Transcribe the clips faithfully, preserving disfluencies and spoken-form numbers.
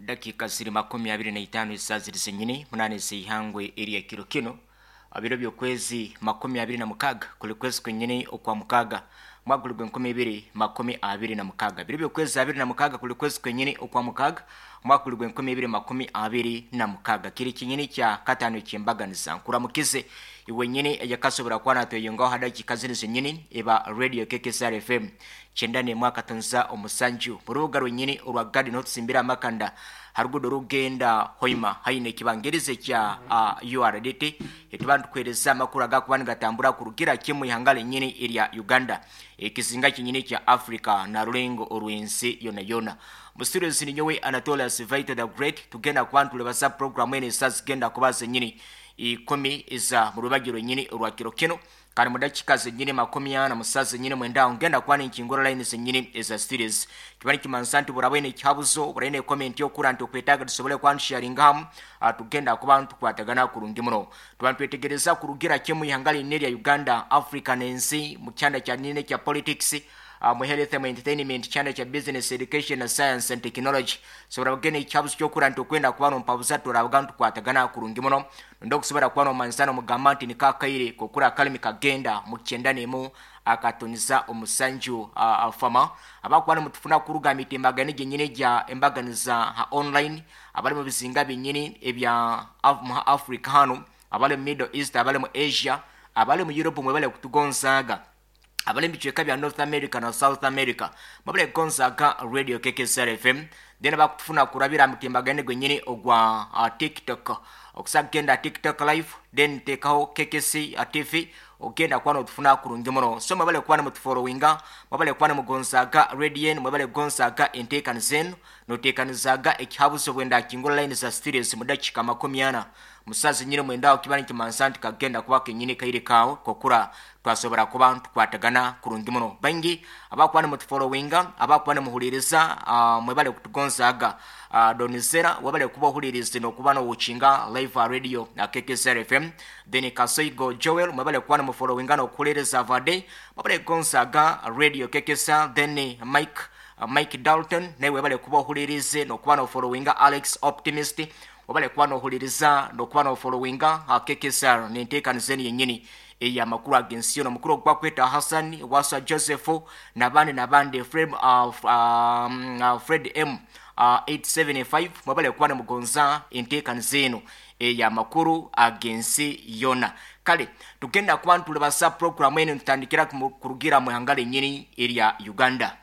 Dakika ziri makumi abiri na itaano esaa ziri zenyini munane zeihangwe erya kiro kino, biro by'okwezi makumi abiri na mukaaga kuli kwezi kwenyini okwa mukaaga mwaka guli gw'enkumi ibiri makumi abiri na mukaaga. Biro by'okwezi abiri na mukaaga kuli kwezi kwenyini okwa mukaaga mwaka guli gw'enkumi ibiri makumi abiri na mukaaga, kiri kinyini kya kataano ekyembaganiza. Nkuramukize iwe nyini eyakasobora kuba natweyongaho ha dakika ziri zenyini eba Radio K K S R F M kyenda n'emu akatonza omusanju mu rubuga rwenyini orwa Garden, otusimbira amakanda harugudo rugenda Hoima, haine ekibangirize kya uh, U R D T. Etuba ntukwereza amakuru agakuba nigatambura kurugira kimu ihanga lenyini erya Uganda, ekizinga kinyini kya Africa na rulengo orw'ensi yona yona. Musirizi ninyowe Anatolius Vito the Great. Tugenda kuba ntulebasa programu eno esaa zigenda kuba zenyini ikumi eza mu rubagi rwenyini orwa kiro kino. Kandi mu dakika zenyini makumi ana musaa zenyini mwenda ngenda kuba ninkingura line zenyini eza series. Kiba nikimanisa nti burabwene ekihabuzo, buraine comment yokura nti okwetaaga tusobole kuba ntusharinga hamu, tugenda kuba ntukwatagana kurungi muno. Tuba nitwetegereza kurugira kimu ihanga linene erya Uganda, Africa n'ensi mu kyanda kya nene kya politics, uh, mu health and entertainment, kyanda kya business, education na science and technology. Sobora kugenda ekihabuzo kyokura nti okwenda kuba nompabuza, turabaga ntukwatagana kurungi muno. Ndo okusobora kuba nomanyisa nomugamba nti nikakaire kokura akalimi kagenda mu kyenda n'emu akatoniza omusanju. uh, fama abakuba nimutufuna kuruga mitimbagano gyenyini gya embaganiza ha online, abali mu bizinga byenyini ebya Af mu Africa hano, abali mu Middle East, abali mu Asia, abali mu Europe, mwebale kutugonzaaga, abali mu bicweka bya North America na South America, mwebale kugonzaaga Radio K K S R F M. Then bakutufuna kurabira mutimbagano gwenyini ogwa uh, TikTok. Okusa kugenda TikTok live, then tekaho K K C uh, T V, ogenda kuba notufuna kurungi muno. So mwebale kuba nimutufollowinga, mwebale kuba nimugonzaaga radio enu, mwebale kugonzaaga enteekaniza enu noteekanizaaga ekihabuzo. Bwenda kingula line za studios mu dakika makumi ana musazi nyine mwenda, kiba nikimansa nti kagenda kuba kenyini kaire kawe kokura twasobora kuba ntukwatagana kurungi muno. Baingi abakuba nimutufollowinga, abakuba nimuhuliriza, uh, mwebale kutugonzaaga. uh, donizera webale kuba ohuliriza nokuba nowukinga live radio uh, K K S R F M. Then Kasoigo Joel, mwebale kuba nimufollowinga nokuhuliriza vade, mwebale kugonzaaga Radio K K S R. Then Mike uh, Mike Dalton, naye webale kuba ohulirize nokuba nofollowinga. Alex Optimist, webale kuba nohuliriza nokuba nofollowinga uh, K K S R nenteekaniza enu yennyini eyamakulu ag'ensi yona. Omukulu ogwakweta Hassan Wasa Joseph nabandi nabandi, Fred, uh, um, uh, Fred M uh, eight seven five, mwebale kuba nemugonza enteekaniza eno eyamakulu ag'ensi yona. Kale tugenda kuba ntulebasa programu eno, ntutandikira kurugira mu ihanga lennyini erya Uganda.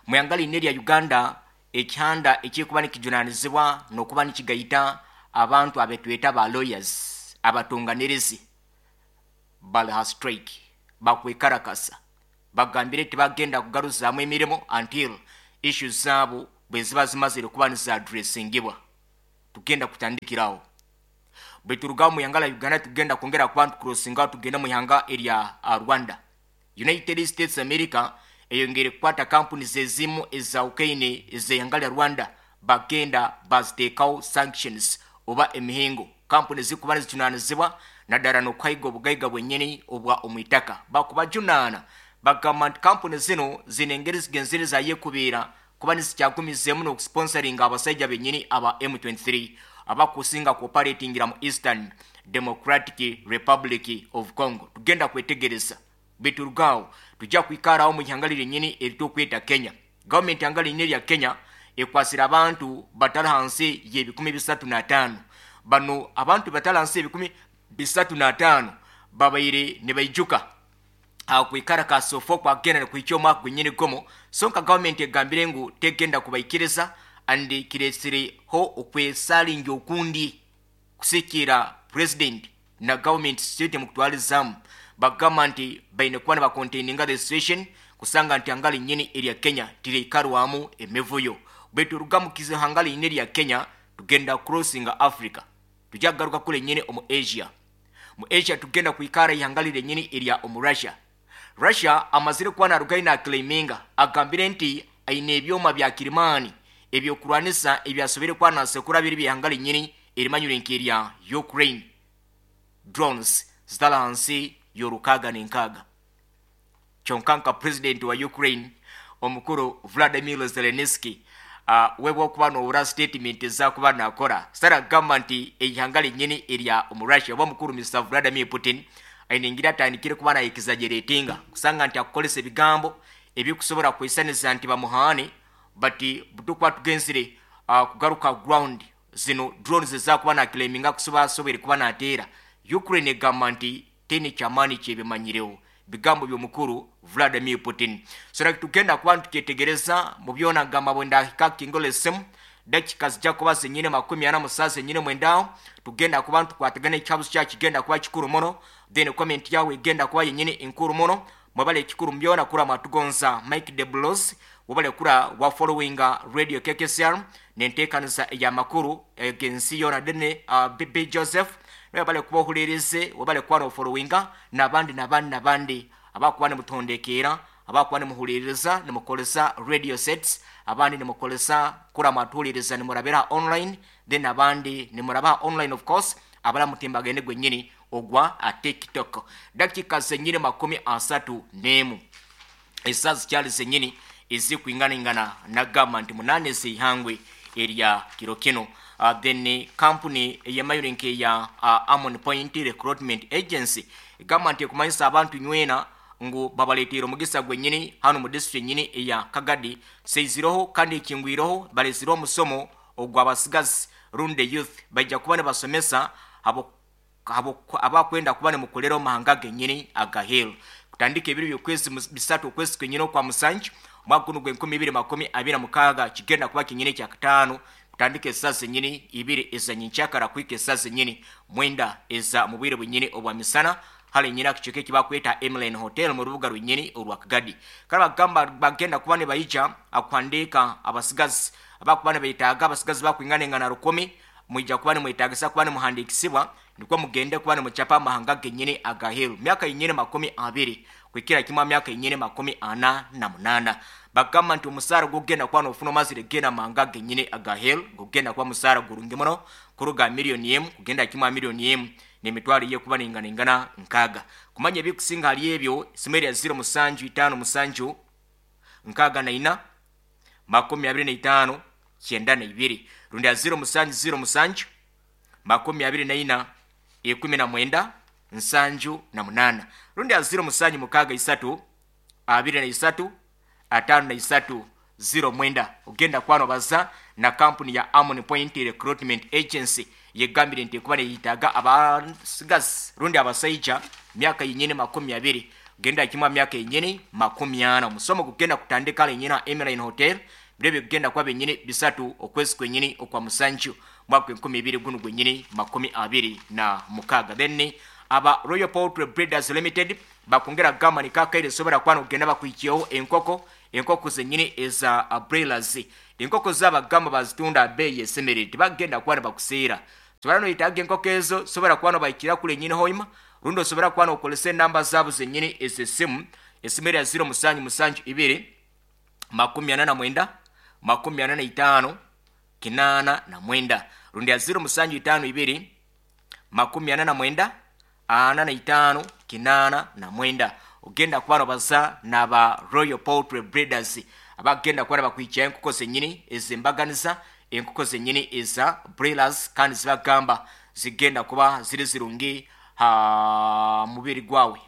Mu ihanga linene erya Uganda, ekihanda ekirikuba nikijunanizibwa n'okuba nikigayita abantu abetweta ba lawyers, abatunganirizi, bali ha strike, bakwekarakasa. Bagambire tibagenda kugaruzaamu emirimu until issues zaabo bwe ziba zimazire kuba nizaadressingibwa. Tugenda kutandikirawo. Bwe turuga mu ihanga la Uganda, tugenda kwongera kuba ntucrossinga tugenda mu ihanga erya uh, Rwanda. United States America eyongere kukwata kampuni zezimu eza ukaine ez'ihanga lya Rwanda, bagenda baziteekawo sanctions oba emihingo. Kampuni zikuba nizijunanizibwa naddala n'okuhayiga obugaiga bwennyini obwa omwitaka, bakubajunaana. Bagamba nti kampuni zino zino engeri zigenzere zayekubiira kuba nizikyagumizeemu n'okusponsoringa abasajja bennyini aba M twenty-three abakusinga kuoperatingira mu Eastern Democratic Republic of Congo. Tugenda kwetegereza. Biturugaawo tujja kwikarawo mu ihanga lyennyini eritukweta Kenya. Gavumenti ihanga lyennyini erya Kenya ekwasira abantu batali hansi y'ebikumi bisatu n'ataano. Bano abantu batali hansi y'ebikumi bisatu n'ataano babaire ne baijuka kwikara kasofo kwagenda nikuhikya omwaka gwenyini gumu. So nka gavumenti egambire ngu tegenda kubaikiriza, and kiresireho okwesalinja okundi kusikira president na government state mukutwalizamu. Bagamba nti baine kuba nibacontaininga the situation kusanga nti hanga linyini erya Kenya tireikarwamu emivuyo. Bwetu ruga mu hanga linyini erya Kenya, tugenda crossinga Africa, tujja kugaruka kule nyini omu Asia. Mu Asia tugenda kwikara ihanga lirenyini erya omu Russia. Russia amazire kuba narugayo naclaiminga, agambire nti aine ebyoma bya kirimani ebyokurwanisa ebyasobere kuba nasekura biri byihanga linyini erimanyire nk'erya Ukraine, drones zitala hansi y'orukaaga n'enkaaga. Kyonka nka president wa Ukraine omukuru Vladimir Zelensky uh, webwa okuba nowura statement ezakuba nakora sara gamba nti eihanga lyenyini erya omurussia oba omukuru Mister Vladimir Putin aine engeri atandikire kuba nayekizageretinga kusanga nti akukolesa ebigambo ebikusobola kwisaniza nti bamuhaane but butukuba tugenzire uh, kugaruka ground zino drones ezakuba nakileminga kusobola asobere kuba nateera Ukraine egamba nti tene kyamaani kyebimanyirewo bigambo by'omukuru Vladimir Putin. So tugenda kuba tukyetegereza mu byona gamba bwendahika kingolesemu dakika zijja kuba zenyine makumi ana musanvu zenyine mwendawo tugenda kuba tukwatagana ekihabuzo kyakigenda kuba kikuru muno then comment yawe egenda kuba yenyine enkuru muno mwebale ekikuru mubyona kura mwatugonza Mike de Blos wabale kura wa followinga Radio K K S R nenteekaniza eyamakuru egensi yona dene uh, B B Joseph wabale kuba ohulirize wabale kuba nofollowinga nabandi nabandi nabandi abakuba nimutondekeera abakuba nimuhuliriza nimukolesa radio sets abandi nimukolesa kura mwatuhuliriza nimurabira online then abandi nimuraba online of course abala mutimbagene gwenyini ogwa a TikTok. Dakika zenyini makumi asatu nemu esazi zikyali zenyini ezikuinganingana nagamba nti munane zeihangwe erya kiro kino. Uh, then company eyemayurinke ya uh, Amon Point Recruitment Agency egamba nti ekumanyisa abantu nywena ngu babaleetera omugisa gwennyini hano mu district yennyini eya Kagadi seiziroho kandi ekingwiroho balezireho omusomo ogw'abasigazi rundi youth bajja kuba nibasomesa abo abakwenda kuba nimukolera omahanga gennyini agaheru kutandika ebiro by'okwezi bisatu okwezi kwennyini okwa musanju omwaka guno gw'enkumi ibiri makumi abiri na mukaaga kigenda kuba kinnyini kya kataano kutandika esaa zennyini ibiri ezanyenkyakara kuhika esaa zennyini mwenda eza mu bwire bwennyini obwa misana hali nyina kicheke kibakweta Emlyn Hotel mu rubuga rwennyini olwa Kagadi. Kale bagamba bagenda kuba ne bayija akuhandika abasigazi abakuba ne bayitaaga abasigazi bakwinganengana rukumi mwija kuba ne mwetagisa kuba ne muhandikisibwa nikwo mugende kuba ne muchapa amahanga gennyini agaheru myaka yennyini makumi abiri kwikira kimwa myaka yennyini makumi ana na munana. Bagamba nti omusaara gugenda kuba nofuna omazire genda amahanga gennyini agaheru gugenda kuba musaara gurungi muno kuruga miliyoni emu kugenda kimwa miliyoni emu n'emitwalo yekuba ninganingana nkaaga. Kumanya ebikusinga hali ebyo simeri ya ziro musanju itaano musanju nkaaga na ina makumi abiri na itaano kyenda na ibiri rundi ya ziro musanju ziro musanju makumi abiri na ina ikumi na mwenda nsanju na munana rundi ya ziro musanju mukaaga isatu abiri na isatu atano na isatu ziro mwenda. Ogenda kwano baza na kampuni ya Amon Point Recruitment Agency yegambire nti kuba neyitaga abasigazi rundi abasaija myaka yenyini makumi abiri genda kimwa myaka yenyini makumi ana. Omusomo gugenda kutandika lenyina Emline Hotel birebe kugenda kwa benyini bisatu okwezi kwenyini okwa musanju mwaka enkumi ibiri guno gwenyini makumi abiri na mukaaga. Then aba Royal Poultry Breeders Limited bakongera gamba ni kakaire sobera kwano kugenda bakwikiyeho enkoko enkoko zenyini eza broilers enkoko z'abagamba bazitunda beeyi esemerere tebagenda kuba nibakuseera. Sobera noyetaaga enkoko ezo sobera kuba nobayikira kule nyini hoima rundi osobera kuba nokolesa enamba zaabo zenyini ez'essimu esimu erya ziro musanju musanju ibiri makumi ana na mwenda makumi ana na itaano kinaana na mwenda rundi ya ziro musanju itaano ibiri makumi ana na mwenda ana na itaano kinaana na mwenda. Ogenda kuba nobaza n'aba Royal Poultry Breeders abagenda kuba bakwikiya enkoko zenyini ez'embaganiza enkoko zenyini eza broilers kandi zibagamba zigenda kuba ziri zirungi ha mubiri gwawe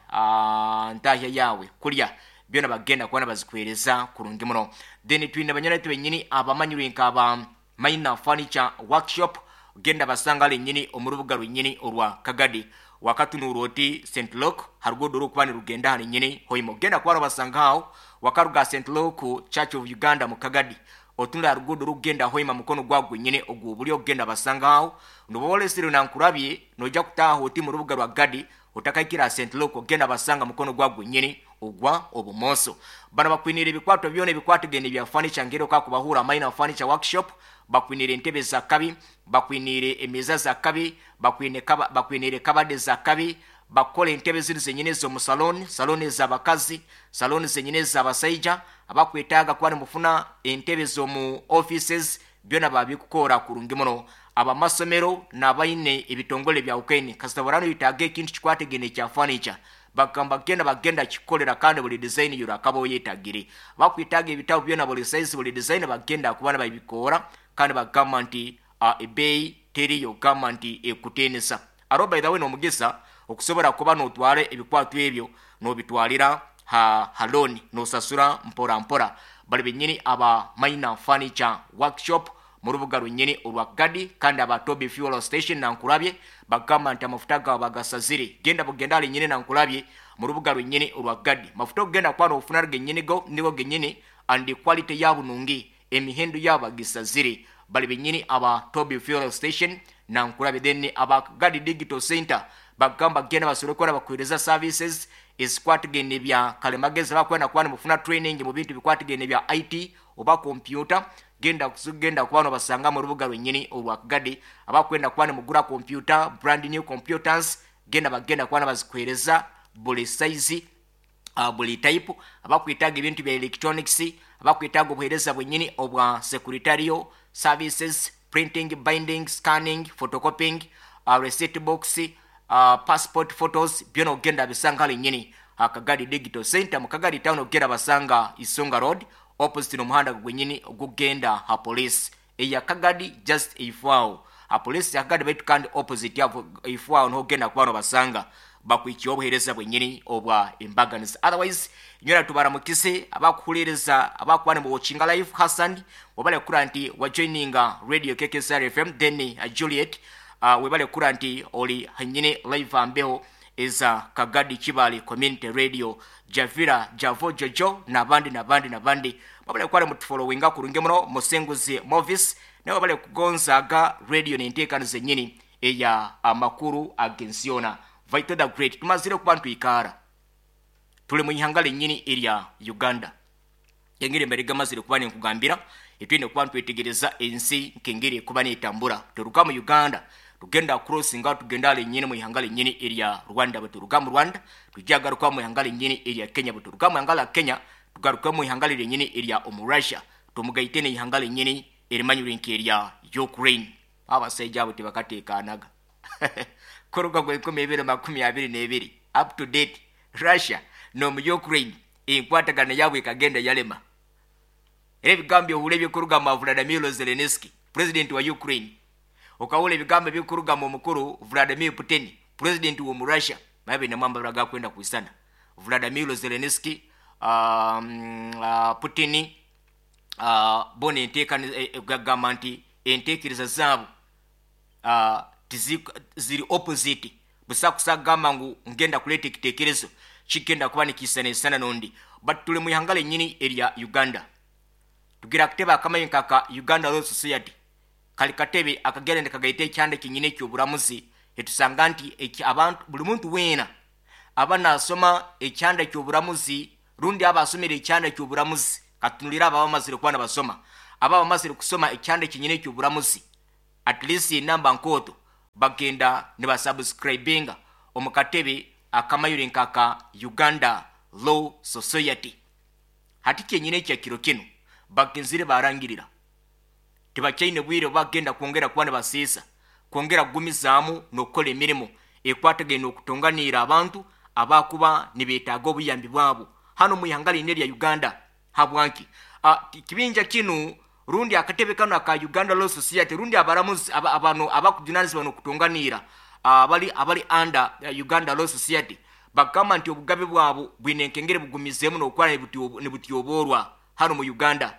ntahya yawe kulya byona bagenda kuba bazikwereza kurungi muno. Then twina banyana benyini abamanyirwe nk'aba Minor Furniture Workshop genda basanga lenyini omurubuga lwenyini olwa Kagadi wakatunura oti Saint Luke harugudo rukuba nirugenda hali nyini hoimo genda kuba basanga aho wakaruga Saint Luke Church of Uganda mu Kagadi otunula harugudo rugenda hoima mukono gwa gwenyini ogwo buli ogenda basanga aho nubolesire nankurabye noja kutaha oti mu rubuga lwa Gadi otakaikira Saint Luke ogenda basanga mukono gwa gwenyini ogwa obumoso. Bano bakwinira ebikwato byona ebikwatagene bya furniture ngero kakubahura Minor Furniture Workshop bakwinire entebe za kabi bakwinire emeza za kabi bakwine kaba bakwinire kabade za kabi bakole entebe ziri zenyine zo mu salon salon z'abakazi salon zenyine z'abasaija abakwetaaga kuba nimufuna entebe zo mu offices byona babikukora kurungi muno. Abamasomero n'abaine ebitongole bya ukeni kasita borano yitaaga ekintu kikwategene kya furniture Bagamba genda bagenda kikolera kandi buli design yurakaba oyetagire. Bakwitaga ebitabo byona buli size buli design bagenda kubana babikora kandi bagamba nti uh, ebei teriyo gamba nti ekutenesa. Aro by the way nomugisa okusobora kuba notware ebikwato ebyo nobitwalira ha haloni nosasura mpora mpora. Bali benyini aba Minor Furniture Workshop mu rubuga rwenyini olwa Gadi kandi aba Toby Fuel Station Nankulabye bagamba nti amafuta gaabwe bagasazire. Genda bugenda ali nyini Nankulabye mu rubuga rwenyini olwa Gadi. Mafuta ogenda kwana ofuna genyini go nigo genyini and quality yabo nungi emihendo yabo bagisazire. Bali benyini aba Toby Fuel Station Nankulabye. Then aba Gadi Digital Center bagamba genda basolokora bakuhereza services ezikwatagene bya kalemagezi bakwenda kwana mufuna training mu bintu bikwatagene bya I T oba computer. Genda kugenda kubano basanga mu rubuga rwenyini olwa Gadi. Abakwenda kwana mugura computer brand new computers genda bagenda kwana bazikwereza buli size uh, buli type. Abakwitaga ebintu bya electronics, abakwitaga obuhereza bwenyini obwa secretarial services, printing, binding, scanning, photocopying, uh, receipt box, uh, passport photos byona ogenda bisanga lenyini Akagadi Digital Center mu Kagadi town ogenda basanga Isonga Road opposite n'omuhanda gwenyini ogugenda ha police eya Kagadi just ifwao ha police ya Kagadi baitu kandi opposite yavo ifwao n'ogenda kubano basanga bakwikiye obuhereza bwenyini obwa embaganizi. Otherwise nyola tubaramukise abakuhulereza abakwana mu watching live. Hassan wabale kura nti wa joininga radio K K S R F M. Then uh, Juliet uh, webale kura nti oli hanyine live ambeho eza Kagadi Kibale Community Radio. Javira Javo Jojo nabandi nabandi nabandi wabale kwale mutufollowinga kurunge muno Musenguzi Movis nawe wabale kugonzaga radio nentekano zenyini eya amakuru agensiona. Vital the Great tumazire kubantu ikara tuli mu ihanga lenyini erya Uganda engeri mbere gamazire kuba nkugambira etwine kubantu etegereza ensi nkengeri kuba netambura. Turuka mu Uganda tugenda crossinga tugenda lenyini mu ihanga lenyini erya Rwanda, baturuka mu Rwanda tujagaruka mu ihanga lenyini erya Kenya, baturuka mu ihanga la Kenya tugaruka mu ihanga lenyini erya Omurussia tumugaite ne ihanga lenyini erimanyure erya Ukraine. Abasajja abo tebakateekanaga kuruga gwe ikumi ebiri makumi abiri n'ebiri up to date Russia no mu Ukraine enkwatagana yabwe kagenda yalema. Era ebigambo ohula ebikuruga mu Vladimir Zelensky president wa Ukraine, okawula ebigambo ebikuruga mu mukuru Vladimir Putin president wa Russia mabe namwamba baraga kwenda kuisana. Vladimir Zelensky um, uh, Putin uh, bone enteeka gagamba nti enteekereza zaabo uh, ziri opposite. Busa kusagamba ngu ngenda kuleta ekiteekerezo kigenda kuba nikiisanaisana n'ondi. But tuli mu ihanga lennyini erya Uganda tugira akatebe akamanyi kaka Uganda Law Society kali katebe akagenda nekagaita ekyanda kinnyini eky'obulamuzi. Etusanga nti eki abantu buli muntu weena aba nasoma ekyanda ky'obulamuzi rundi aba asomera ekyanda ky'obulamuzi katunulira aba bamazire kuba nabasoma aba bamazire kusoma ekyanda kinnyini eky'obulamuzi at least enamba nkooto bagenda ne basubscribinga omu katebe akamayure nkaka Uganda Law Society. Hati kyenyine ekya kiro kino bagenzire barangirira tebakyaine bwire bagenda kwongera kuba nibasiisa kwongera kugumizaamu n'okukola emirimu ekwatagene okutonganiira abantu abakuba nibeetaaga obuyambi bwabo hano mu ihanga lino erya Uganda. Habwanki kibinja kinu rundi akatebe kano aka Uganda Law Society rundi abaramuzi aba, abano abakujunanizibwa n'okutonganiira abali abali under Uganda Law Society bagamba nti obugabe bwabo bwine enkengere bugumizeemu n'okukola nibutyoboorwa hano mu Uganda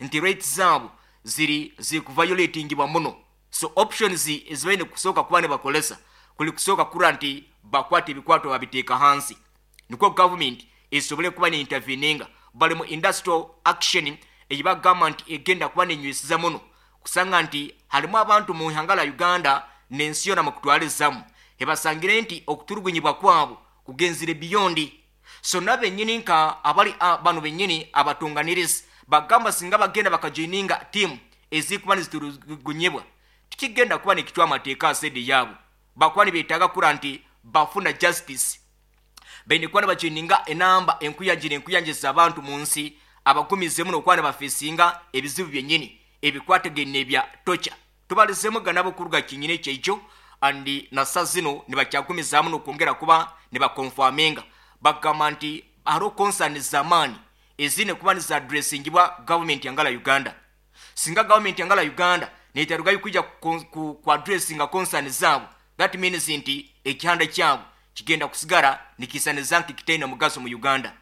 nti rights zaabo ziri ziri kuviolatingibwa muno. So options ezibaine kusooka kuba nibakolesa kuli kusooka kura nti bakwata ebikwato babiteeka hansi nikwo government esobole kuba ne interveninga. Bali mu industrial action eyibagamba nti egenda kuba nenywesiza muno kusanga nti halimu abantu mu ihanga la Uganda n'ensi yona mu kutwalizamu ebasangire nti okuturugunyibwa kwabo kugenzire beyond. So nabennyini nka abali bano bennyini abatunganirizi bagamba singa bagenda bakajoininga team ezikuba niziturugunyibwa tikigenda kuba nekitwa amateeka asedi yaabo bakuba nibeetaaga kura nti bafuna justice baine kuba nibajoininga enamba enkuyanja enkuyanja abantu mu nsi abagumizemu n'okuba nibafeesinga ebizibu byennyini ebikwatagene ebya tocha. Tubalizemu ganabo kuruga kinyini kyekyo andi nasa zino nibakyagumizaamu n'okwongera kuba nibakonfaminga Bagamba nti hariho concern z'amaani ezine kuba nizaddressingibwa gavumenti yangala Uganda. Singa gavumenti yangala Uganda netarugayo kwija ku, ku addressinga concern zaabo, that means nti ekihanda kyabo kigenda kusigara nikisaniza nti kitaina mugaso mu Uganda.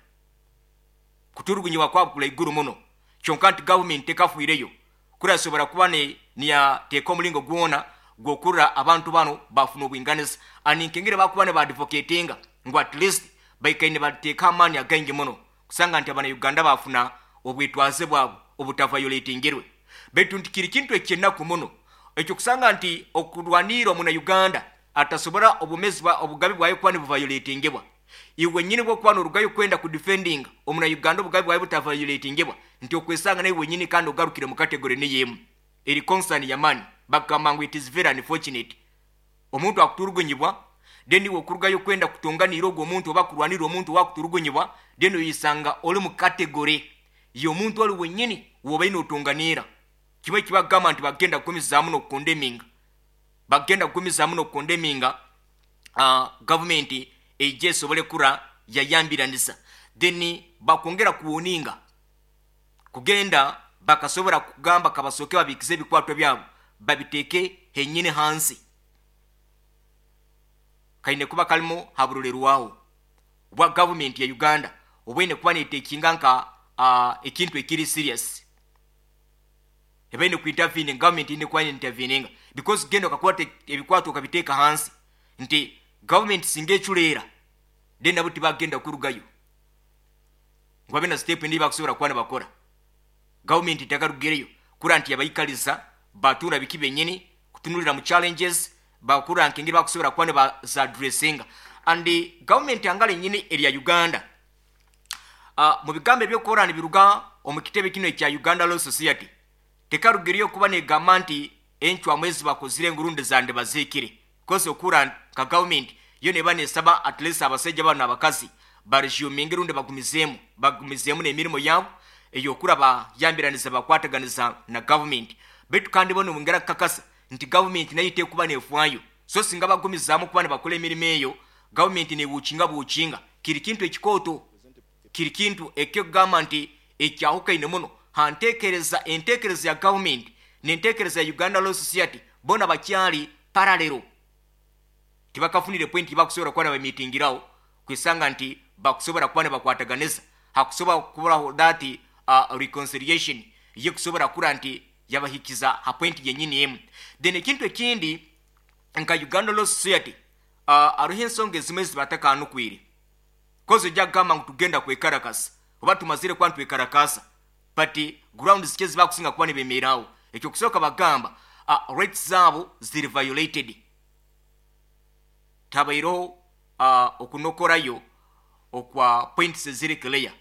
Kuturugunyibwa kwabo kulaiguru muno, kyonka nti gavumenti tekafuireyo kurasobora kuba ne niyateeka omulingo gwona gwokurra abantu bano bafuna obwinganiza. Aninkengere bakuba ne baadvocatinga ngu at least baikaine bateeka amaani againgi muno kusanga nti abana Uganda bafuna obwetwaze bwabo obutavayolatingirwe. Baitu nti kiri kintu ekyenaku muno ekyo kusanga nti okurwanira omuna Uganda atasobora obumezi bwa obugabi bwayo kuba nibuvayolatingibwa. Iwe nyini bwokuba n'orugayo kwenda ku defending omuna Uganda obugabi bwayo butavayolatingibwa, nti okwesanga nawe wenyini kandi ogarukire mu category niyemu eri concern ya mani. Bagamba ngu it is very unfortunate omuntu akuturugunyibwa, then iwe okurugayo kwenda kutonganira ogwo omuntu oba kurwanira omuntu wakuturugunyibwa, then oyisanga oli mu category y'omuntu oli wenyini wobaine otonganira. Kimwe kibagamba nti bagenda kugumizaamu n'okukondeminga, bagenda kugumizaamu n'okukondeminga uh, gavumenti ejja esobole kura yayambiranisa. Then bakwongera kuwoninga kugenda bakasobora kugamba kabasooke babikize ebikwato byabo babiteeke henyini hansi, kaine kuba kalimu haburulerwaho obwa gavumenti ya Uganda obwaine kuba netekinga nka uh, ekintu ekiri serious ebaine kuintervene. Gavumenti ine kuba interveninga because genda okakwata ebikwato okabiteeka hansi, nti gavumenti singa eculeera then nabo tibagenda kurugayo ngu babe na step endi bakusobora kuba nibakora. Gavumenti takarugireyo kura nti yabaikaliza batura biki benyini kutunulira mu challenges bakura nkengeri bakusobora kuba nibazaddressinga. And gavumenti angala enyini erya Uganda uh, mu bigambo ebyokora nibiruga omu kitebe kino ekya Uganda Law Society tekarugireyo kuba negamba nti encwamu ezi bakozire ngurundi zande baziikire, because okura nka gavumenti yo neba nesaba at least abasajja bano abakazi baresuminge rundi bagumizeemu bagumizeemu n'emirimu yaabo eyokura bayambiraniza bakwataganiza na gavumenti. Baitu kandi bono bongera kukakasa nti gavumenti nayo tekuba nefwayo, so singa bagumizaamu kuba nibakola emirimu eyo gavumenti nebuukinga buukinga. Kiri kintu ekikooto, kiri kintu ekyokugamba nti ekyahukaine muno hantekereza entekereza ya gavumenti n'entekereza ya Uganda Law Society bona bakyali parallel, tibakafunire point bakusobora kuba nabamitingiraho kwisanga nti bakusobora kuba nibakwataganiza hakusobora kuburaho that uh, reconciliation ye kusobora kura nti yabahikiza ha point yenyini emu. Then ekintu ekindi nka Uganda Law Society uh, aruho ensonga ezimwe zibatakanukwire koze ojja kugamba ngu tugenda kwekarakasa oba tumazire kuba ntwekarakasa, but ground zike zibakusinga kuba nibemeerawo. Ekyo kusooka bagamba uh, rights zaabo ziri violated, tabaireho uh, okunokorayo okwa points eziri clear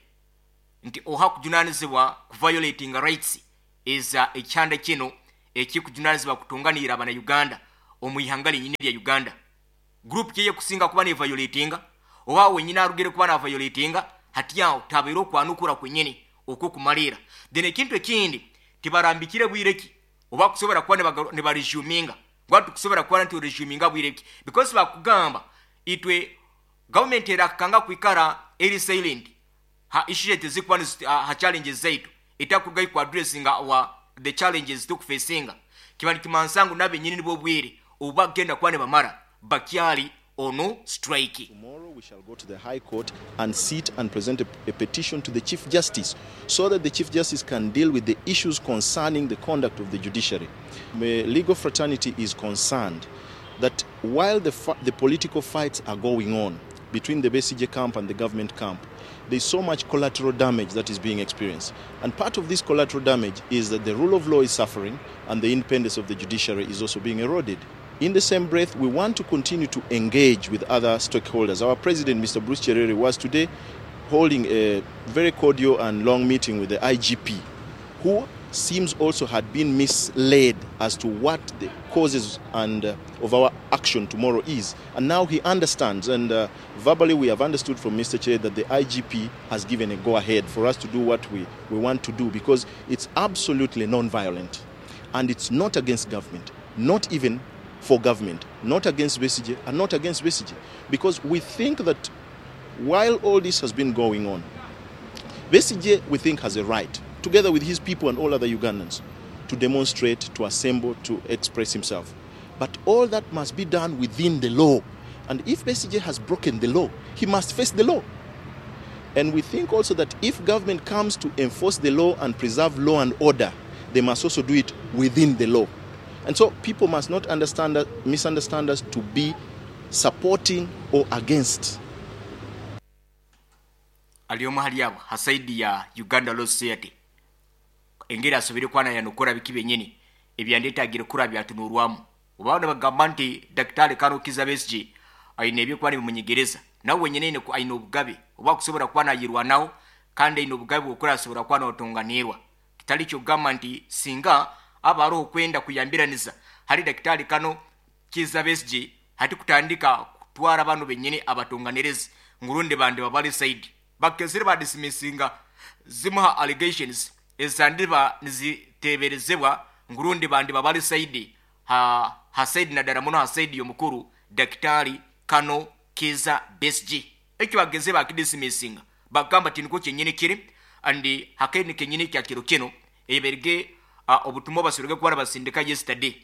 nti oha kujunanizibwa kuviolatinga rights eza ekyanda kino ekikujunanizibwa kutunganira abana Uganda omu ihanga linyini lya Uganda. Group kyeye kusinga kuba ne violatinga oba wenyini arugire kuba na violatinga hati awo tabaire okwanukura kwenyini okwo kumalira. Then ekintu ekindi tibarambikire bwireki oba kusobora kuba nibaresuminga ngwatu kusobora kuba nti resuminga bwireki, because bakugamba itwe government erakanga kwikara eri silent ha issue tezikuba ha challenges zaitu etakurugayo ku addressing our the challenges tukufacinga kiba nikimansangu nabe nyini nibo bwire oba genda kuba nibamara bakyali ono strike. Tomorrow we shall go to the High Court and sit and present a, a petition to the Chief Justice so that the Chief Justice can deal with the issues concerning the conduct of the judiciary. The legal fraternity is concerned that while the, the political fights are going on between the Besigye camp and the government camp, there's so much collateral damage that is being experienced. And part of this collateral damage is that the rule of law is suffering and the independence of the judiciary is also being eroded. In the same breath, we want to continue to engage with other stakeholders. Our president, Mister Bruce Cherere, was today holding a very cordial and long meeting with the I G P, who seems also had been misled as to what the causes and uh, of our action tomorrow is. And now he understands, and uh, verbally we have understood from Mister Chair that the I G P has given a go-ahead for us to do what we, we want to do, because it's absolutely non-violent. And it's not against government, not even for government, not against Besigye, and not against Besigye. Because we think that While all this has been going on, Besigye, we think, has a right, together with his people and all other Ugandans, to demonstrate, to assemble, to express himself. But all that must be done within the law. And if Besigye has broken the law, he must face the law. And we think also that if government comes to enforce the law and preserve law and order, they must also do it within the law. And so people must not understand, misunderstand us to be supporting or against. Aliyomu hali abo ha side ya Uganda Law Society engeri asobere kwana yanokora biki byenyini ebyandetagire kura byatunurwamu obaona bagamba nti Daktari Kano Kizza Besigye aine ebyokuba nibimunyegereza nawe wenyine aine obugabe oba kusobora kuba nayirwanaho kandi aine obugabe bwokura asobora kuba notonganirwa kitali kyokugamba nti singa aba aroho kwenda kuyambiraniza hari Daktari Kano Kizza Besigye hati kutandika kutwara bano benyini abatonganirizi ngurundi bandi babali side bakezire badismissinga zimuha allegations ezandiba niziteberezebwa ngurundi bandi babali side ha ha side na daramuno ha side yomukuru Daktari Kano Kizza Besigye ekyo bageze bakidismissinga bagamba tiniko kyenyini kiri andi hakeni kenyini kya kiro kino eberge uh, obutumwa basurege kubara basindika yesterday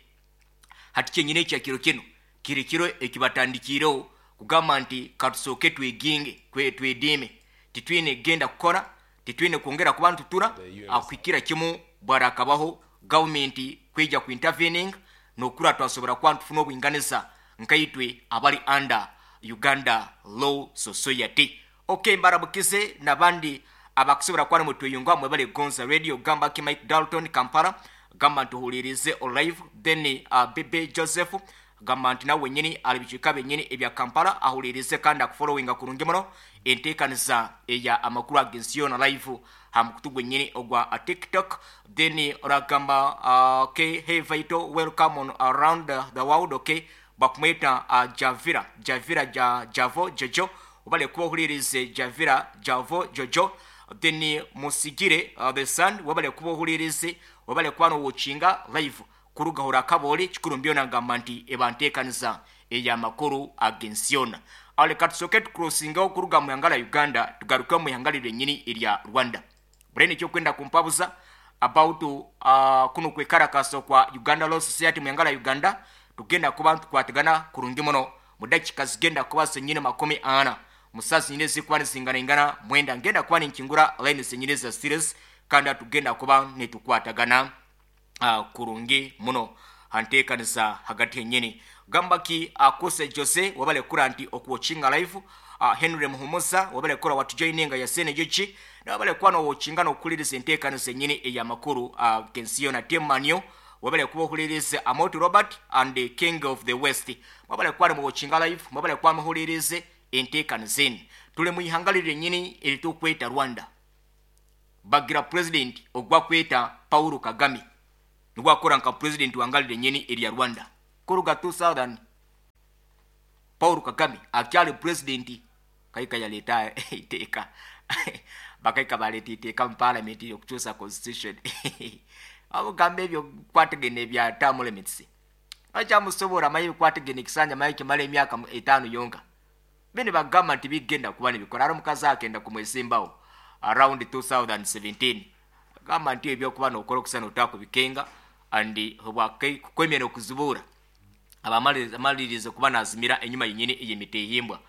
hati kyenyini kya kiro kino kiri kiro ekibatandikiro kugamba nti katusoke tweginge kwe twedime titwine genda kukora titwine kwongera kubantu tura akwikira kimu bwarakabaho government kwijja ku intervening nokura twasobora kwantufuna obwinganiza nkaitwe abali under Uganda Law Society. Okay, mbarabukize nabandi abakusobora kwana mutuyungwa mwebale Gonza Radio gamba ki Mike Dalton Kampala gamba ntuhulirize live then uh, Bebe Joseph gamba nti nawe wenyini alibicika benyini ebya Kampala ahulirize kandi akufollowinga kurungi muno enteekaniza eya amakuru agensiyo na live ha mukutu gwenyini ogwa TikTok then oragamba uh, okay, hey Vito, welcome on around the, the world. Okay, bakumweta uh, Javira Javira ja, Javo Jojo obale kuba ohulirize Javira Javo Jojo then musigire uh, the sun wabale kuba ohulirize wabale kuba nowochinga live kurugahura kaboli kikuru mbyona ngamba nti ebanteekaniza eyamakuru agensiona ale katusoke tucrossingaho okuruga mu ihanga lya Uganda tugaruke mu ihanga lyennyini erya Rwanda burene ekyokwenda kumpabuza about uh, kuno kwekarakasa kwa Uganda Law Society mu ihanga lya Uganda tugenda kuba tukwatagana kurungi muno mu dakika zigenda kuba zenyini makumi ana musazi nyine zikuba nizingana mwenda ngenda kuba ninkingura line zenyini za series kandi tugenda kuba nitukwatagana uh, kurungi muno hanteekaniza hagati yenyini gambaki akuse uh, Jose wabale kura nti okuwochinga live uh, Henry Muhumuza wabale kura watujoininga ya sene jochi na wabale kuba nowochinga nokuliriza enteekaniza yenyini eyamakuru uh, gensiyo na temanyo wabale kuba ohulirize Amoti Robert and the King of the West wabale kuba muwochinga live wabale kuba muhulirize enteekaniza eni tuli mu ihanga lyennyini eritukweta Rwanda bagira president ogwa kweta Paul Kagame nigwakora nka president wangali lyennyini erya Rwanda kuruga two thousand Paul Kagame akyali president kaika yaleta iteeka bakaika baleta iteeka mu parliament okukyusa constitution abugamba ebyo bikwatagene bya term limits akyamusobola amanyi bikwatagene ekisanja manyi kimala emyaka etaano yonka bene bagamba nti bigenda kuba nibikola ari omukazi akenda kumwesimbawo around two thousand seventeen gamba nti ebyokuba nokola okusana otakubikenga andi kwemera okuzibuura abamalirize kuba nazimira enyuma yenyini ey'emitehimbwa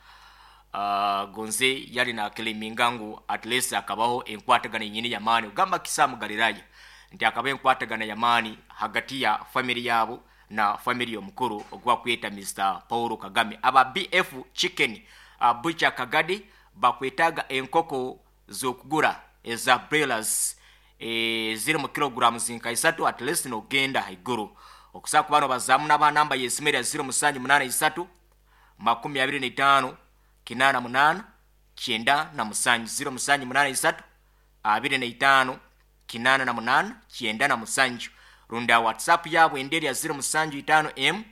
uh, gonze yali nakeleminga ngu at least akabaho enkwatagana yenyini yamaani ogamba Kisamu Galilaya nti akaba enkwatagana yamaani hagati ya family yabo na family omukuru ogwa kweta Mister Paul Kagame. Aba B F Chicken uh, Butcher Kagadi bakwetaga enkoko z'okugura eza broilers e, ziri mu kilograms nka isatu at least nogenda haiguru okusa ku bano bazamu n'abanamba yesimera zero musanju munana isatu makumi abiri n'etaano kinana munana kyenda na musanju zero musanju munana isatu abiri n'etaano kinana na munana kyenda na musanju runda WhatsApp yabwe enderi ya zero musanju itaano m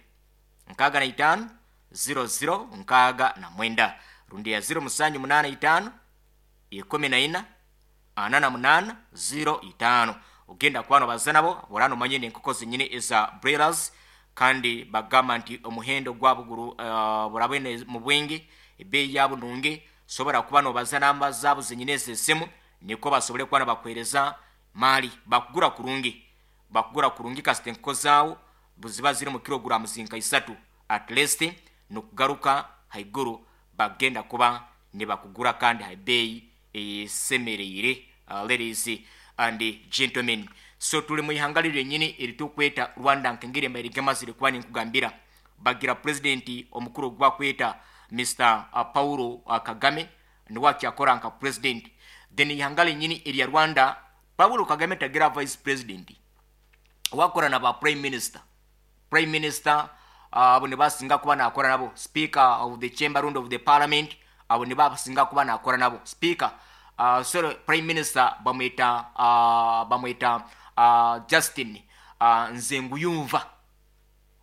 nkaga na itaano zero zero nkaga na mwenda rundi ya zero musanju munana itaano ikumi na ina ana na munana zero itaano ogenda kwano bazanabo borano manyene enkoko zenyini eza broilers kandi bagamba nti omuhendo gwabuguru uh, burabene mu bwingi ebbeeyi yabo nungi Sobora kuba nobaza namba zaabo zenyine ez'esimu, niko basobole kuba nibakuheereza maali. Bakugura kurungi, bakugura kurungi kasita enkoko zaawo buziba ziri mu kilograms nka isatu at least, nokugaruka haiguru bagenda kuba nibakugura kandi ha beeyi esemereire. uh, ladies and gentlemen, so tuli mu ihanga lyenyini eritukweta Rwanda. Nkengeri embaire gemazire kuba ninkugambira, bagira president omukuru gwakweta Mister Paulo Kagame, niwe akyakora nka president. Then ihanga lyenyini erya Rwanda, Paulo Kagame tagira vice president, wakora na ba prime minister. Prime minister abo uh, nibasinga kuba nakora nabo, speaker of the chamber round of the parliament, abo nibasinga kuba nakora nabo. Speaker uh, sorry, prime minister bamwita uh, bamwita uh, Justin uh, Nzenguyumva,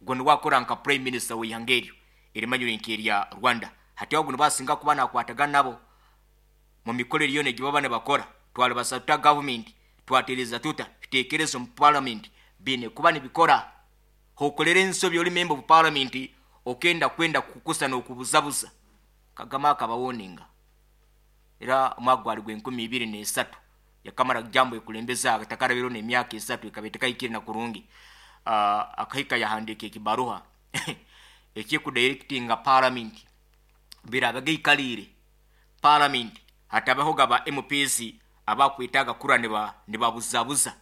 gwe niwakora nka prime minister w'ihanga eryo erimanyire nk'erya Rwanda. Hati ago nibasinga kuba nakwatagana nabo mu mikorere yona gye baba nibakora. Twali basatuta government, twatereza tuta tutekereza mu parliament, bine kuba nibikora. Hokolera ensobi oli member of parliament, okenda kwenda kukusa n'okubuzabuza. Kagame akabawoninga era omwaka gwali gw'enkumi ibiri n'esatu, yakamara jambo ekulembeza atakarabiro n'emyaka esatu ekaba etekahikire na kurungi. uh, akahika yahandika ekibaruha ekikudirectinga parliament birabaga ikalire parliament, hatabaho gaba M Ps abakwitaga kura niba nibabuzabuza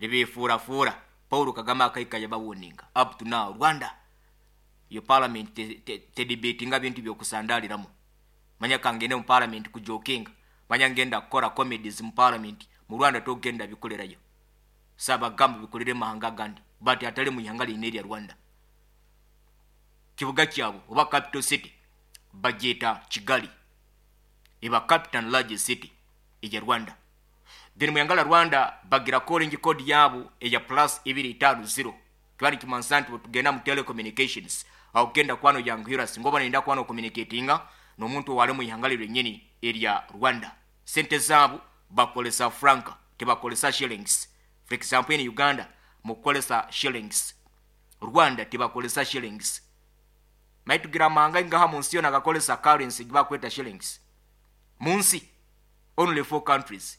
nibefuurafuura. Paul Kagame akahika yabawoninga. Up to now Rwanda yo parliament tedebatinga te, te bintu byokusandaliramu. Manya kangende mu parliament kujokinga, manya ngenda kukora comedies mu parliament, mu Rwanda togenda bikolerayo. Saba gamba bikolere mahanga gandi, but atali mu ihanga line erya Rwanda. Kibuga kyabo oba capital city bajeta Kigali, eba capital and largest city eya Rwanda. Then mu ihanga la Rwanda bagira calling code yabo eya plus ibiri itanu zero. Kwani kimansanti tugenda mu telecommunications aho genda kwano yanguhira singoba nenda kwano communicatinga n'omuntu wale mu ihanga lyenyini erya Rwanda. Sente zaabo bakolesa franka, tebakolesa shillings. For example, in Uganda mukolesa shillings, Rwanda tebakolesa shillings. Maitugira manga ngaha mu nsi yona gakolesa currency gibakweta shillings. Mu nsi only four countries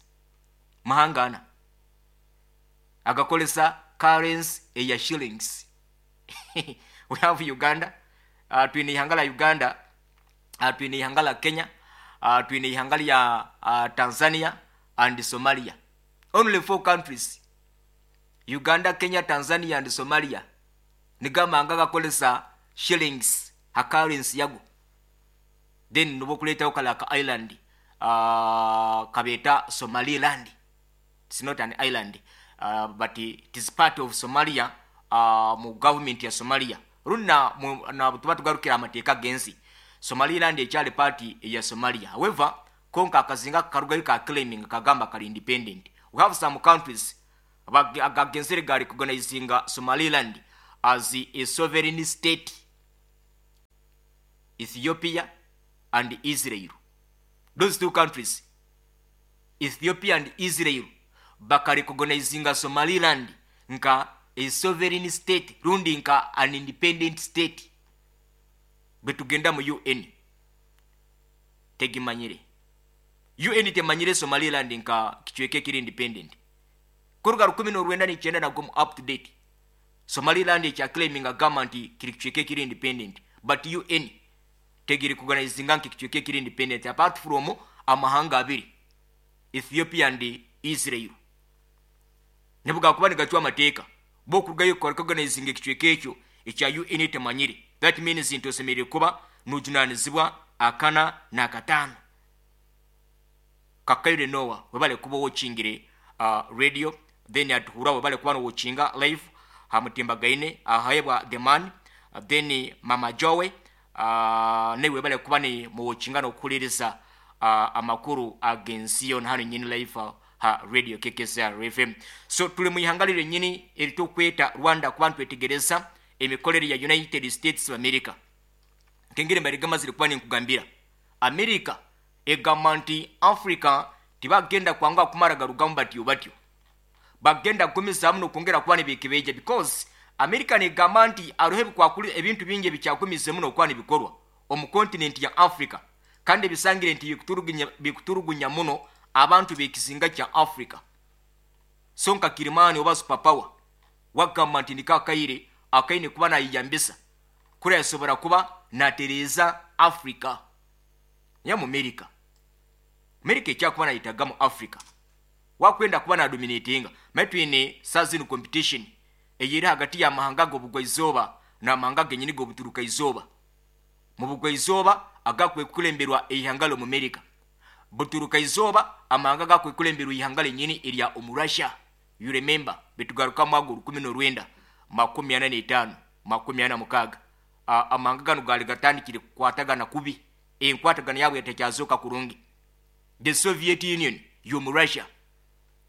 mahangana agakolesa currency eya shillings. We have Uganda, uh, twine ihanga la Uganda, uh, twine ihanga la Kenya, uh, twine ihanga lya uh, Tanzania and Somalia. Only four countries, Uganda, Kenya, Tanzania and Somalia, nigamanga gakolesa shillings ha currency yago. Then nobokuletaho kala ka island uh, kabeta Somaliland. It's not an island, uh, but it is part of Somalia, uh, mu government ya Somalia. Runa na tuba tugarukira amateeka gensi, Somaliland ekyali part ya Somalia. However, konka akazinga karugayo ka claiming kagamba kali independent. We have some countries agagenzere ga recognizinga Somaliland as a sovereign state, Ethiopia and Israel. Those two countries, Ethiopia and Israel, baka recognizinga Somaliland nka a sovereign state, rundi nka an independent state. Betugenda mu U N tegimanyire, U N temanyire Somaliland nka kichweke kiri independent. Kuruga rukumi n'orwenda n'icyenda nabwo mu up to date Somaliland ekya claiming a government kiri kichweke kiri independent, but U N tegiri kuganizinga nki kichweke kiri independent apart from amahanga abiri, Ethiopia and Israel. Nibuga kuba nigacwa amateeka bo kurugayo recognizinga kichweke ekyo ekya U N temanyire. That means nti osemereire kuba nujunanizibwa akana n'akataano. Kakaire Noah webale kuba wochingire uh, radio, then atuhura webale kuba wochinga live hamutimbagaine ahayebwa the man, uh, then Mama Jowe uh, ne webale kuba ni muwochinga n'okukuliriza uh, amakuru agensiyo hano nyini live uh, ha radio K K S R F M. So tuli mu ihanga lyenyini eritukweta Rwanda kuba ntwetegereza emikolere ya United States of America. Kengere marigama ziri kuba ninkugambira America egamba nti Africa tibagenda kwanga kumara garugamba batyo batyo, bagenda kugumizamu n'okwongera kuba nibekebeija, because America negamba nti aruhe bikwakuli ebintu bingi ebikyagumize muno okuba nibikorwa omu continent ya Africa, Kandi bisangire nti bikuturugunya, bikuturugunya muno abantu b'ekizinga kya Africa. So nka kirimani oba superpower wagamba nti niko akaire akaine kuba nayiyambisa kuri yasobora kuba natereeza Africa. Ya mu America, America ekyakuba nayitaga mu Africa wakwenda kuba nadominatinga. Maye twine sazino competition eyeri hagati y'amahanga g'obugwa-izooba n'amahanga genyini g'obuturuka-izooba. Mu bugwa-izooba agakwekulemberwa eihanga l'omu America, buturuka-izooba amahanga gakwekulemberwa eihanga lenyini erya omu Russia. You remember betugaruka mwago rukumi n'orwenda makumi ana n'etaano makumi ana mukaaga, amahanga gano gaali gatandikire kukwatagana kubi, enkwatagana yabwe yatakyazoka kurungi. The Soviet Union y'omu Russia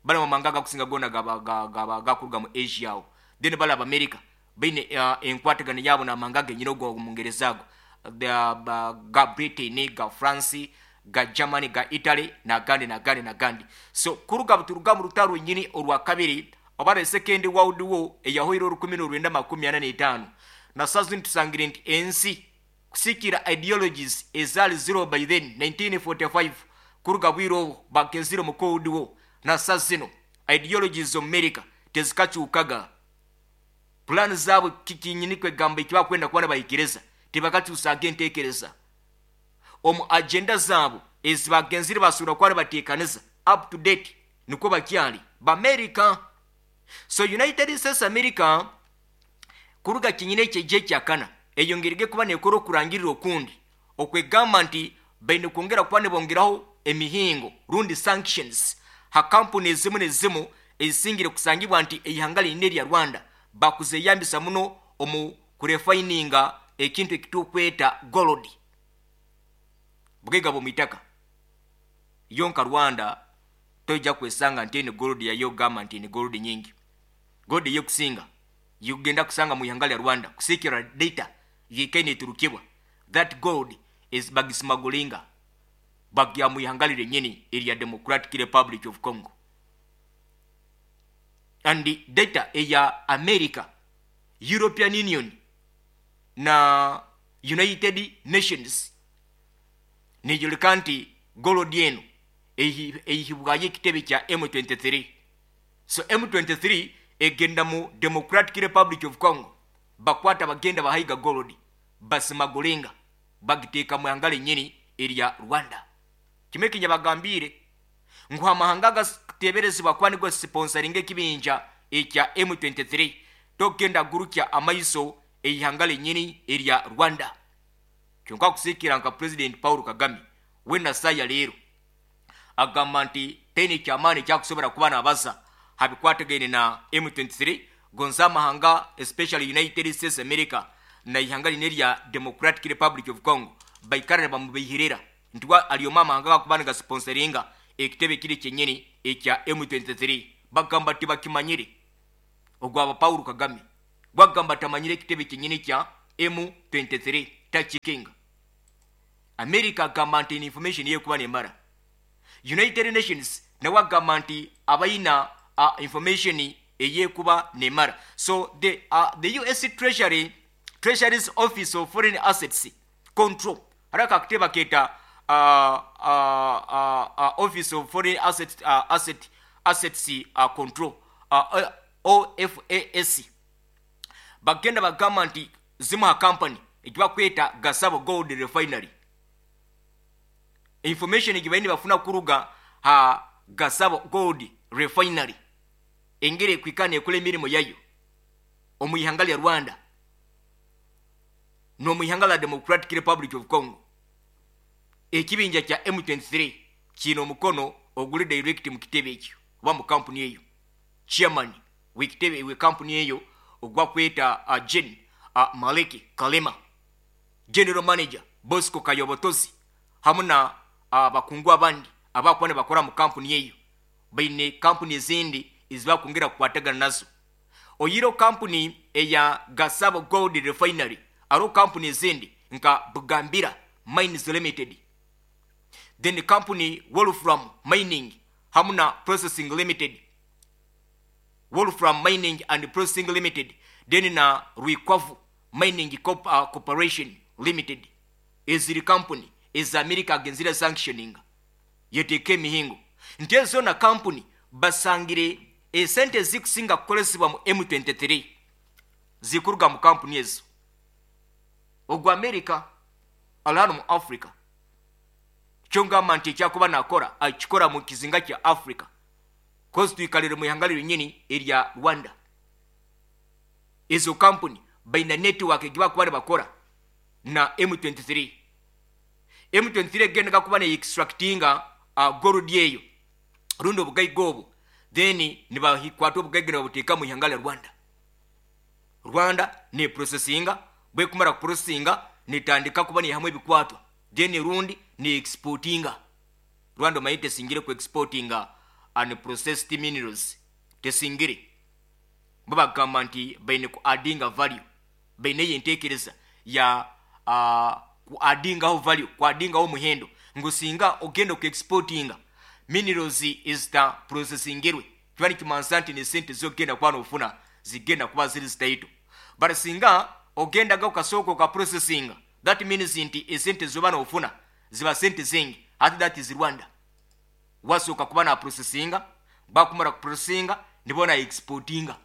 bali amahanga agakusinga gona gakuruga mu Asia awo. Then bali Abamerika baine uh, enkwatagana yabo n'amahanga genyini ogo omungereza ago ga Britain, ga France, ga Germany, ga Italy n'agandi n'agandi n'agandi. So kuruga buturuga mu rutaro nyini orwa kabiri oba the Second World War eyahoire orukumi n'orwenda makumi ana n'etaano, na sazini tusangire nti ensi kusikira ideologies ezaali zero by then nineteen forty-five kuruga bwire obwo bagenzire mu Cold War, na sazino ideologies omu America tezikakyukaga. Plan zaabwe kikinyini kwegamba ekibakwenda kuba nibahikiriza tibakakyusaga enteekereza omu agenda zaabo ezibagenzire basobora kuba nibateekaniza up to date, nikwo bakyali bamerica. So United States America kuruga kinyine ekyeje ekyakana eyongerege kuba nekora okurangirira okundi okwegamba nti baine kwongera kuba nibongeraho emihingo rundi sanctions ha kampuni ezimu nezimu ezisingire kusangibwa nti eihanga liine erya Rwanda bakuzeyambisa muno omu kurefininga ekintu ekitukweta gold bugaiga bw'omu itaka. Yonka Rwanda tojja kwesanga nti eni gold yayo gamba nti ni gold nyingi. Gold yekusinga yugenda kusanga mu ihanga lya Rwanda kusikira data yikaine eturukibwa, that gold is bagismugglinga bagya mu ihanga lyenyini erya Democratic Republic of Congo. And data eya America, European Union na United Nations neyoleka nti gold eno eyihibwayo ekitebe kya M twenty-three. So M twenty-three egenda mu Democratic Republic of Congo, bakwata bagenda bahayiga gold basmugglinga bagiteeka mu ihanga lyenyini erya Rwanda. Kimwe kinyabagambire ngu amahanga gateberezebwa kuba nigo sponsoringa ekibinja ekya M twenty-three togenda gurukya amaiso eihanga lyenyini erya Rwanda. Kyonka kusikira nka President Paul Kagame we nasaya leero agamba nti teni kyamaani kyakusobola kuba nabaza habikwatagaine na M twenty-three gonza amahanga especially United States America na ihanga line erya Democratic Republic of Congo baikara ne bamubihirira nti alioma amahanga gakuba nigasponsoringa ekitebe kiri kyenyini ekya M twenty-three. Bagamba tibakimanyire ogwaba Paul Kagame bagamba tamanyire ekitebe kyenyini kya M twenty-three tachikinga. America agamba nti information yekuba nemara. United Nations nawe agamba nti abayina uh, information eyekuba nemara. So the, uh, the U S Treasury, Treasury's Office of Foreign Assets Control haraka akiteba keta uh, uh, uh, uh, Office of Foreign Asset, uh, Asset, Assets uh, Control uh, O F A S bagenda bagamba nti zimuha company ekibakweta Gasabo Gold Refinery. Information egibaini bafuna kuruga ha Gasabo Gold Refinery engere kwikana ekole emirimu yayo omu ihanga lya Rwanda no mu ihanga la Democratic Republic of Congo. Ekibinja kya M twenty-three kino omukono oguli direct mu kitebe ekyo oba mu kampuni eyo. Chairman w'ekitebe we kampuni eyo ogwa kweta uh, Jen uh, Maleki Kalema, General Manager Bosco Kayobotozi hamwe na abakungu uh, abandi abakuba ne bakora mu kampuni eyo. Baine kampuni ezindi ezibakongera kukwatagana nazo. Oyiro kampuni eya Gasabo Gold Refinery aro kampuni ezindi nka Bugambira Mines Limited, then company Wolfram Mining hamwe na Processing Limited, Wolfram Mining and Processing Limited, then na Rwikwavu Mining Corp, uh, Corporation Limited. Eziri company Eza America agenzire sanctioning, yeteeka emihingo nti ezo zona kampuni basangire esente ezikusinga kukolesebwa mu M twenty-three zikuruga mu kampuni ezo. Ogwo America ali hano mu Africa. Kyongamba nti ekyakuba nakora akikora mu kizinga kya Africa, kozi twikalire mu ihanga lyenyini erya Rwanda. Ezo kampuni baina network egibakuba nibakora na M twenty-three. M twenty-three egendaga kuba ne extractinga uh, gold eyo rundi obugaiga obwo, then nibakwata obugaiga nibabuteeka mu ihanga lya Rwanda. Rwanda ne processinga, bwekumara kuprocessinga netandika kuba nihamu ebikwatwa, then rundi ne exportinga. Rwanda omanyi tesingire ku exportinga unprocessed minerals, tesingire. Bo bagamba nti baine ku addinga value, baine eyo enteekereza ya uh, ku addingaho value, ku addingaho omuhendo, ngu singa ogenda ku exportinga minerals ezita processingirwe, kiba nikimansa nti nesente zogenda kuba nofuna zigenda kuba ziri zitaito. But singa ogendaga okasooka oka processinga, that means nti esente zoba nofuna ziba sente zingi. Ate that is Rwanda. Wasooka kuba na processinga, bakumara kuprocessinga nibona exportinga.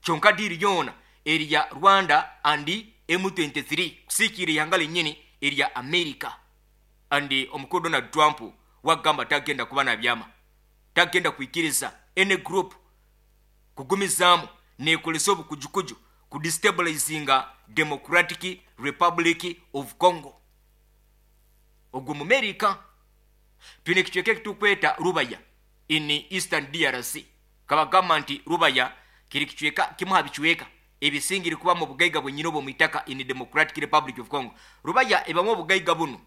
Kyonka deal yona erya Rwanda and M twenty-three kusiikira ihanga lennyini erya America. And omukulu Donald Trump wagamba tagenda kuba nabyama, tagenda kwikiriza any group kugumizaamu nekolesa obukujukuju ku destabilizinga Democratic Republic of Congo. Ogwo mu America. Twine ekicweka ekitukweta Rubaya in eastern D R C. Kabagamba nti Rubaya kiri kicweka kimu ha bicweka ebisingire kuba mu bugaiga bwenyini obwo mwitaka in Democratic Republic of Congo. Rubaya ebamu obugaiga buno: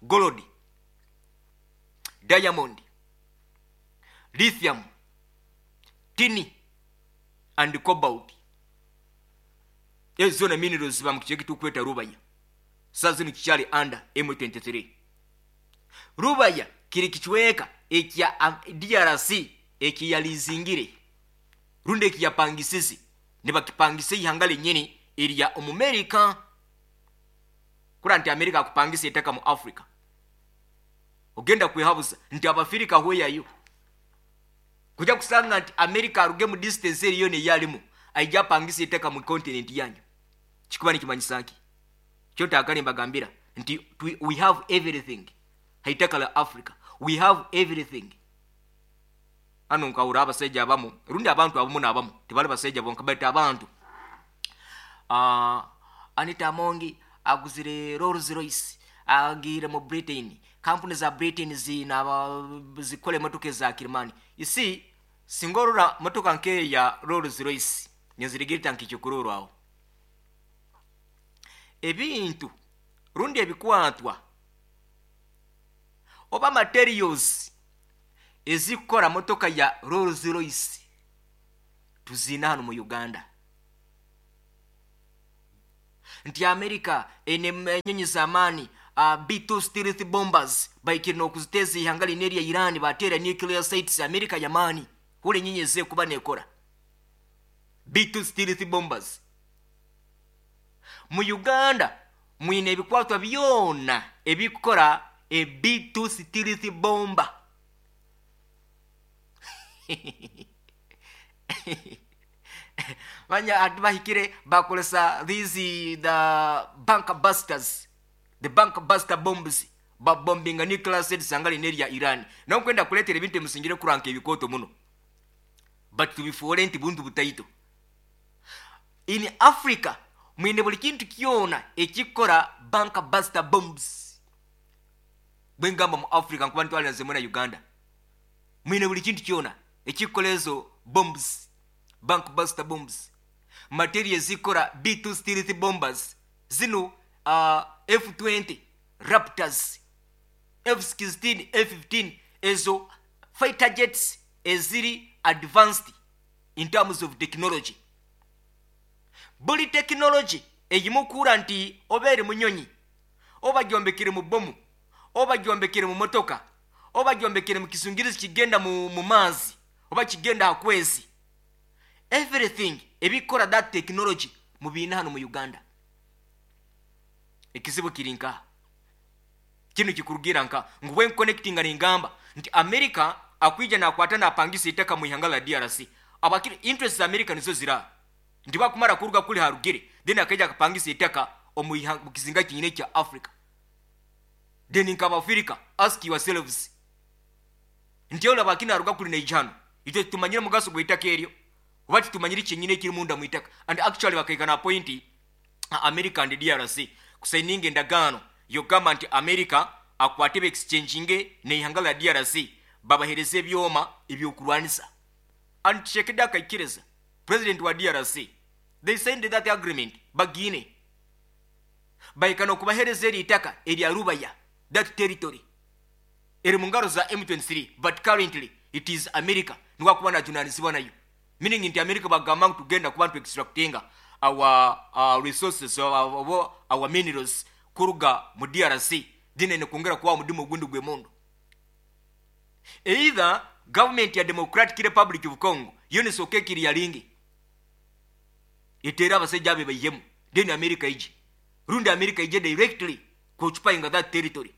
gold, diamond, lithium, tin and cobalt. Ezo zona minerals ziba mu kicweka ekitukweta Rubaya. Saa zino kikyali under M twenty-three. Rubaya kiri kicweka ekya D R C ekiyalizingire rundi ekiyapangisize, nibakipangisa ihanga lennyini erya omumerika. Kura nti Amerika akupangisa ettaka mu Africa, ogenda kwehabuza nti Abafirika hweyayo kujja kusanga nti Amerika aruge mu distance eriyo neyalimu aija apangisa ettaka mu continent yanyu. Kikuba nikimanyisa nki? Kyotaakale mbagambira nti we have everything haitaka la Africa, we have everything. Hano nkawura abasajja abamu rundi abantu abamu n'abamu, tebali basajja bonka bait abantu. uh, anita Amongi aguzire Rolls Royce, agiire mu Britain, kampuni za Britain zina zikola emotoka eza kirimani. Isi singa orora motoka nkeya Rolls Royce nenzirigirita nkekyokurorwaho aho ebintu rundi ebikwatwa oba materials ezikora motoka ya Rolls Royce tuzina hano mu Uganda. Nti America ene enyonyi z'amaani, uh, B two stealth bombers, baikire n'okuziteeza ihanga lino erya Iran, bateera nuclear sites. America yamaani hula enyonyi ezekuba nekora B two stealth bombers. Mu Uganda mwine ebikwatwa byona ebikora e B two stealth bomber. Manya ati bahikire bakolesa these the bunker busters, the bunker buster bombs, babombinga nuclear sites anga lino erya Iran. Nokwenda kuleetera ebintu emusingire kuranka ebikooto muno, but tubifuule nti buntu butaito. In Africa mwine buli kintu kyona ekikora bunker buster bombs. Bwengamba mu Africa nkuba ntwalira nze na Uganda, mwine buli kintu kyona ekikola ezo bombs, bunker buster bombs, material zikora B two stealth bombers zino, uh, F twenty Raptors, F sixteen, F fifteen, ezo fighter jets eziri advanced in terms of technology. Buli technology eyimukuura nti oba eri munyonyi, oba gyombekere mu bomu, oba gyombekere mu motoka, oba gyombekere mu kisungirizi kigenda mu, mu maazi oba kigenda akwezi, everything ebikola that technology mubiina hano mu Uganda. Ekizibu kiri nkaha? Kinu kikurugira nka ngu bwe connecting ningamba nti America akwija nakwata napangisa itaka mu ihanga la D R C. Abakiri interest za America nizo zira nti bakumara kuruga kuli harugire, then akaija akapangisa itaka omu ihanga- mu kizinga kinyine kya Africa. Then nkaba Africa, ask yourselves nti olaba akina aruga kuli neijano, itwe tumanyire mugaso gw'itaka eryo oba titumanyire kyenyine ekiri munda mu itaka? And actually bakaika point America and D R C kusayininga endagaano yogamba nti America akwate beexchanginge neihanga la D R C, babahereza ebyoma ebyokurwanisa. And Tshisekedi akaikiriza, president wa D R C. They signed that agreement. Bagine bahika okubahereza eri itaka erya Rubaya. That territory eri mu ngaro za M twenty-three, but currently it is America niwakuba najunanizibwa nayo, meaning nti America bagamba ngu tugenda kuba ntu extractinga our uh, resources, our, our minerals kuruga mu D R C. Then nekwongera kuba mudimu ogundi gwemundu, either government ya Democratic Republic of Congo yo nesooka ekiriyalingi eteera abasajja abe baihemu, then America ije, rundi America ije directly kuoccupyinga that territory.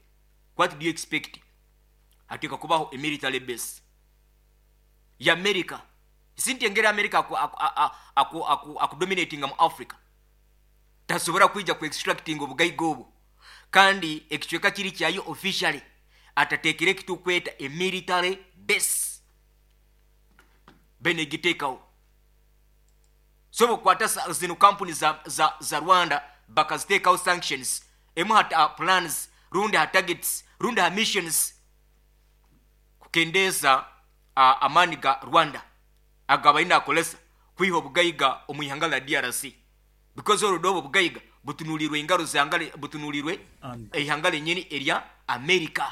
What do you expect? Hateeka kubaho a military base ya America. Sinti engeri America akudominatinga mu Africa, tasobola kwija ku extracting obugaiga obwo kandi ekicweka kiri kyayo officially atateekere ekitukweta a military base benegiteekawo. So bukwata zino kampuni za, za, za Rwanda, bakaziteekawo sanctions emu ha uh, plans rundi ha targets rundi ha missions kukendeeza uh, amaani ga Rwanda agabalina akolesa kwiha obugaiga omu ihanga la D R C, because olwo obwo obugaiga butunulirwe engaro zangale, butunulirwe eihanga lenyini erya America.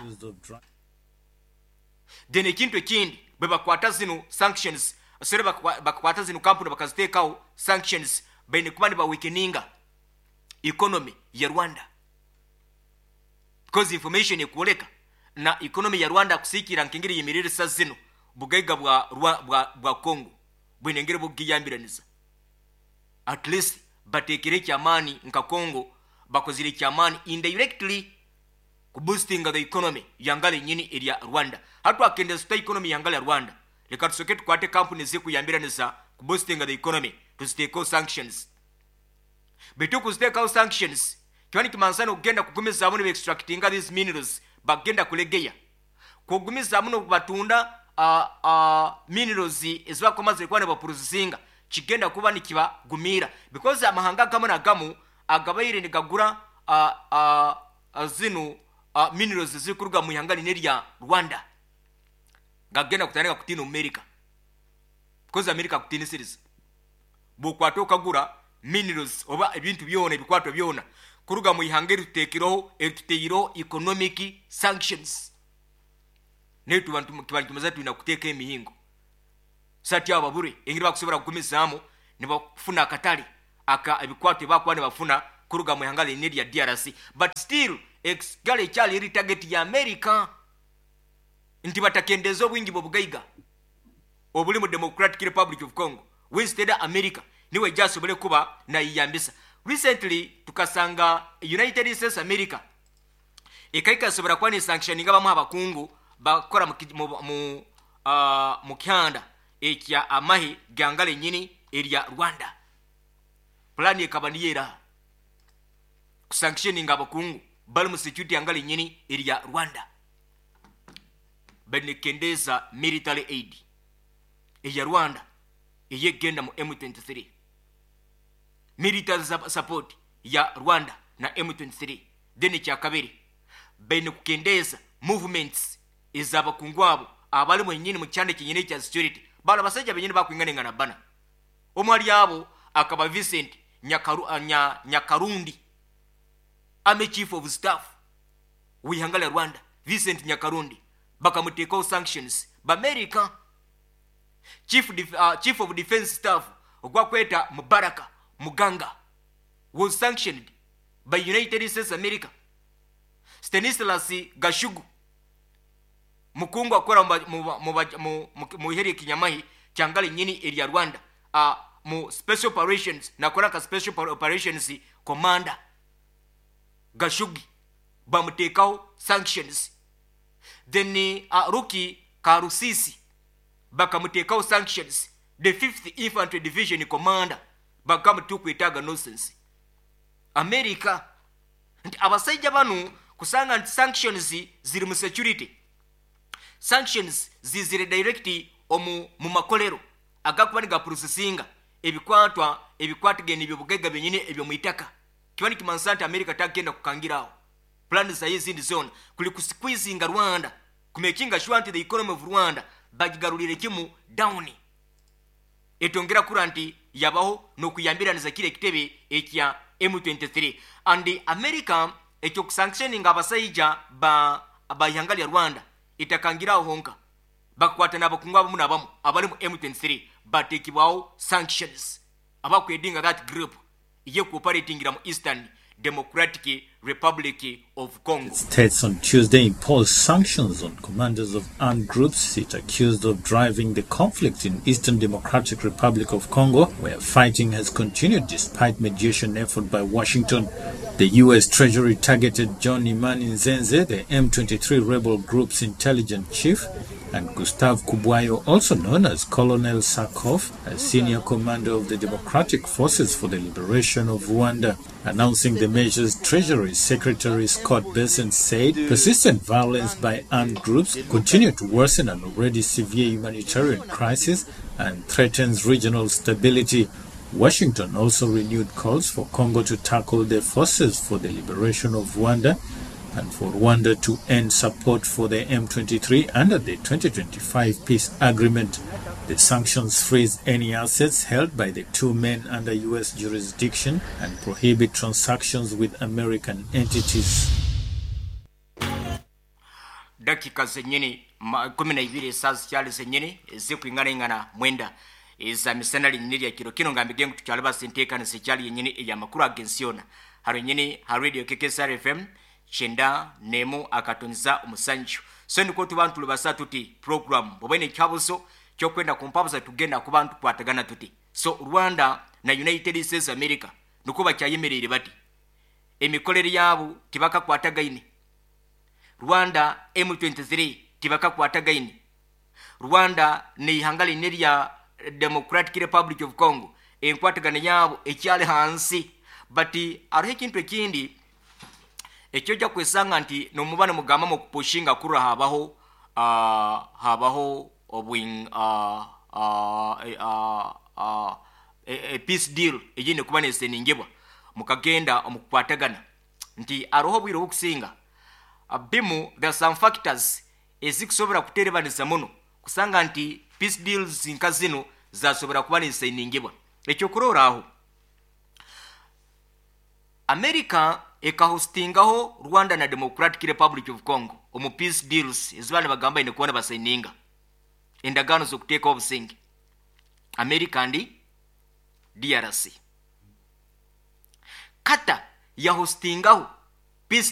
Then ekintu ekindi, bwe bakwata zino sanctions sere, bakakwata zino kampuni bakaziteekawo sanctions, baine kuba nibaweakeninga economy ya Rwanda, because information ekwoleka na economy ya Rwanda kusiikira nkengeri yemirire zino bugaiga bwa, bwa, bwa, bwa Congo bwine engeri bugiyambiraniza. At least batekere ekyamaani nka Congo bakozire ekyamaani indirectly kuboostinga the economy yangala enyini erya Rwanda. Hatwakendeza tuta economy yangala ya Rwanda? Leka tusoke tukwate kampuni zikuyambiranisa kuboostinga the economy, tuziteekeo sanctions. Bitu kuziteekawo sanctions kiba nikimansana okugenda kugumizaamu nibaextractinga these minerals, bagenda kulegeya kugumizaamu nokubatunda uh, uh, minerals ezibakomazire kuba nibaprocesinga, kigenda kuba nikibagumira, because amahanga agamu nagamu agabaire nigagura uh, uh, uh, zino uh, minerals zikuruga mu ihanga line rya Rwanda gagenda kutandika kutiina America, because America akutiinisiriza bwokwata okagura minerals oba ebintu byona ebikwato byona kuruga mu ihanga erituteekireho erituteireho economic sanctions. Naye tuba kiba nikimaza tulina kuteeka emihingo sati abo babure engeri bakusobola kugumizaamu nibafuna akatale aka ebikwato ebakuba nibafuna kuruga mu ihanga line lya D R C. But still ekisigala ekyali eri target ya America nti batakendeza obwingi bwobugaiga obuli mu Democratic Republic of Congo. Instead America niwe jasobole kuba nayiyambisa. Recently tukasanga United States America ekaikasobora kuba nesanctioninga bamu abakungu bakora mu, mu, mu, uh, mu kyanda ekya amahe gangala enyini erya Rwanda. Plan ekaba niyo eraha? Kusanctioninga abakungu bali mu security yangala enyini erya Rwanda, benekendeza military aid eya Rwanda eyegenda mu M twenty-three, military support ya Rwanda na M twenty-three. Then ekyakabiri, baine kukendeza movements ez'abakungu abo abali mwenyini mu kyanda kyenyini ekya security. Bano abasajja benyini bakwinganengana bana, omu ali abo akaba Vincent Nyakaru, uh, Nya, Nyakarundi, army chief of staff w'ihanga lya Rwanda. Vincent Nyakarundi bakamuteekawo sanctions bamerica. chief, def, uh, chief of defense staff ogwakweta Mubaraka Muganga was sanctioned by United States America. Stanislas Gashugu, mukungu akora mu iheri kinyamahi kyangala nyini erya Rwanda, uh, mu special operations, nakora ka special operations commander Gashugi. Bamuteekaho sanctions. Then uh, Ruki Karusisi bakamuteekaho sanctions, the fifth Infantry Division commander. Bakamutukwetaaga nonsense America nti abasaija banu kusanga nti sanctions ziri mu security sanctions, zizire direct omu mu makolero agakuba nigaprocessinga ebikwatwa ebikwatagene ebyobugaiga byenyini ebyomwitaka. Kiba nikimanisa nti America tagenda kukangiraho plan zayo ezindi zona kuli kusqueezinga Rwanda, kumakinga sure nti the economy of Rwanda bagigarulire kimu down, etongera kura nti yabaho n'okuyambiraniza kiri ekitebe ekya M twenty-three. And America ekyokusanctioninga abasaija ba ba ihanga lya Rwanda itakangiraho honka, bakwata n'abakungu abamu n'abamu abali mu M twenty-three, batekibwaho sanctions abakwedinga that group yekuoperatingira mu Eastern Democratic Republic of Congo. States on Tuesday imposed sanctions on commanders of armed groups it accused of driving the conflict in Eastern Democratic Republic of Congo, where fighting has continued despite mediation effort by Washington. The U S. Treasury targeted John Imani Nzenze, the M twenty-three rebel group's intelligence chief, and Gustave Kubwayo, also known as Colonel Sarkoff, a senior commander of the Democratic Forces for the Liberation of Rwanda. Announcing the measures, Treasury Secretary Scott Bessent said persistent violence by armed groups continue to worsen an already severe humanitarian crisis and threatens regional stability. Washington also renewed calls for Congo to tackle the Forces for the Liberation of Rwanda and for Rwanda to end support for the M twenty-three under the twenty twenty-five peace agreement. The sanctions freeze any assets held by the two men under U S jurisdiction and prohibit transactions with American entities. Dakika zenyini kumi na ibiri esaa zikyali zenyini zikwinganaingana mwenda eza misana linyini lya kiro kino, ngambige ngu tukyali basenteekaniza ekyali yenyini eyamakuru agensi yona haro nyini ha Radio K K S R F M kyenda nemu akatonza omusanju. So niko tuba ntulibasa tuti program bwoba nekyabuzo kyokwenda kumpabuza, tugenda kuba ntukwatagana tuti. So Rwanda na United States America niko bakyayemereire bati, emikolere yaabo tibakakwatagaine. Rwanda M twenty-three tibakakwatagaine. Rwanda neihanga line lya Democratic Republic of Congo, enkwatagana yaabo ekyali hansi. But hariho ekintu ekindi ekyojja kwesanga nti nomubana mugamba mukupushinga kurra habaho uh, habaho obwing uh, uh, uh, uh, a, a peace deal egine kuba neseningibwa mukagenda omukukwatagana nti aroho obwire obukusinga bimu there are some factors ezikusobora kuterebanisa muno kusanga nti peace deals nka zino zasobora kuba neseningibwa. Ekyokuroraaho, America ekahostingaho Rwanda na Democratic Republic of Congo omu peace deals ezibana bagamba ine kubona basayininga endagaano z'okuteekaho obusinge, America ndi D R C. Qatar yahostingaho